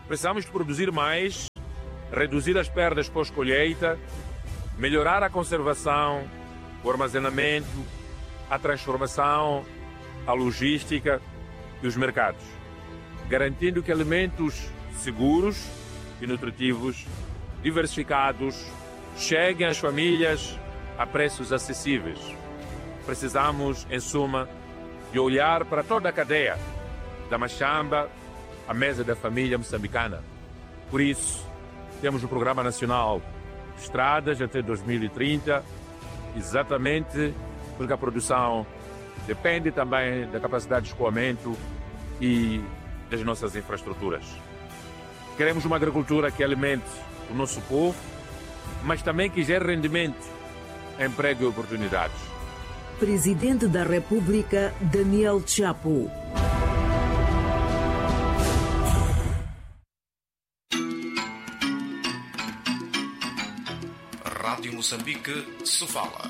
Precisamos de produzir mais, reduzir as perdas pós-colheita, melhorar a conservação, o armazenamento, a transformação, a logística e os mercados, garantindo que alimentos seguros e nutritivos, diversificados, cheguem às famílias a preços acessíveis. Precisamos, em suma, de olhar para toda a cadeia, da machamba à mesa da família moçambicana. Por isso, temos o Programa Nacional de Estradas até 2030, exatamente porque a produção depende também da capacidade de escoamento e das nossas infraestruturas. Queremos uma agricultura que alimente o nosso povo, mas também que gere rendimento, emprego e oportunidades. Presidente da República, Daniel Chapo. Rádio Moçambique, Sofala.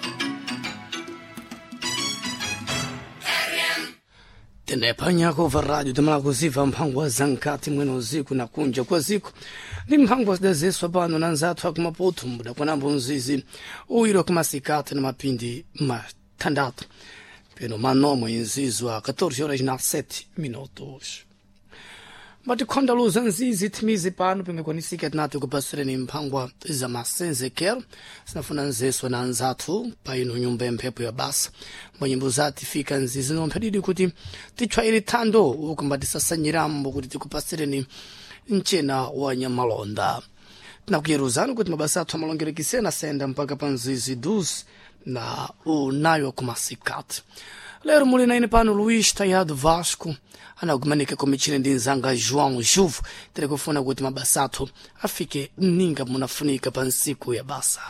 Tenepanyako va rádio tamalakuziva mphangwa za nkati mwene uziku na kunja kwa ziku ndi mphangwa zidazeswa pano na nzathu akumaputu mudakwanambo mzizi uyiro kumasikati na mapindi mathandatu peno manomwe nzizo a 14 horas na 7 minutos. Matikhonda luza nzizi thimizi pano pimikwanisika tinati kupasireni mphangwa za masenzekero sinafuna nzeswa na nzathu pa ino nyumba ya mphepo ya basa mbanyimbo zati fika nzizi nomphadidi kuti titchwaire thando ukumba tisasanyirambo kuti tikupasireni mchena wa nyamalonda. Tinakuyeruzani kuti mabasa athu amalongerekisena asayenda mpaka pa nzizi 12 na unayo kumasikati. Lero muli na ine pano Luís Tayado Vasco anakumanika komichine ndi nzanga João Juvo tere kufuna kuti mabasa athu afike mninga munafunika pa nsiku ya basa.